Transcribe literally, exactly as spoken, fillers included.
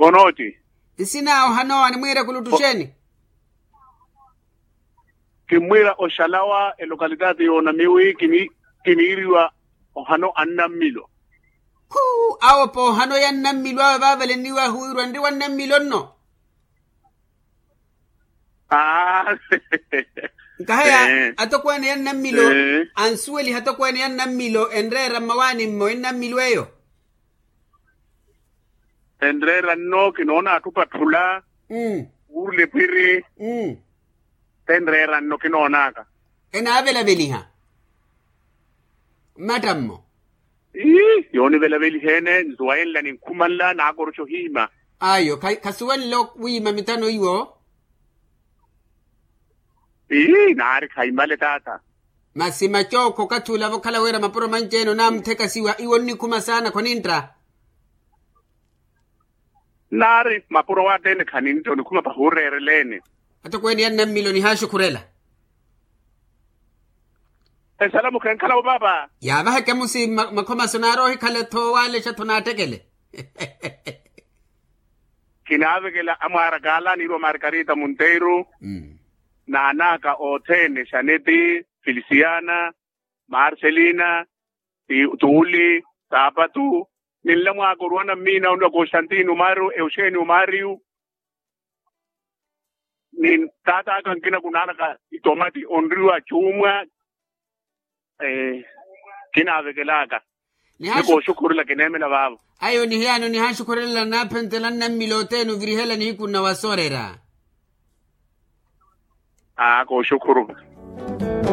Onooti? Nsina ohanowa nimwiire kulutuxeni. Kimmwiira oxalawa elokalitati yoonamiwi kiniiriwa ohano annammilo. Khu awo poohano ya nnammilo awe vaavaleniwa ahuwirwa nri wa nnammilo nno. Nkaheya atokweene ya nnammilo ansuweliha atokweene ya nnammilo enreera mmawaani mmo ennammilo eyo. Enreera nno kinoona atthu opatthula wuurula ephwiri. Tenreera nno kinoonaka. Enaavelaveliha mmattammo. Ii yoonivelaveliha-ene nzuwa yenla ninkhumanla naakoroxa ohiima. Ayo khasuwenle wiima mitano iwo. Ii naari khaimale taata. Masi macookho okathi ula vokhala wira mapuro manci-ene onaamutheka siwa iwo onnikhuma saana khonintta. Naari mapuro wattene khanintta onikhuma pahuureerela-ene. Atokweene ya nnammilo nihaaxukhurela. Esalamu khenkhala-wo paapa. Yaavaheke musi makhomaso naari ohikhala-tho owaalexa-tho naattekele. Kinaavekela amwaara kaala niirwa margarita monteiro n'an'aka othene xaneti, felisiana, marcelina, tuuli, saapatu, ninla mwaaka oruwa nammiina onniwa constantino mario euxenio mario. Ni taat'aka nkina kunaanaka itomati onriwa cuumwa. Kinaavekelaka. Nikooxukhurela kineemela vaavo. Ayo nihiyaano nihaaxukhurelela naaphentela nnammila othene ovirihela nihiku nnawasoorera. Aa kooxukhuru.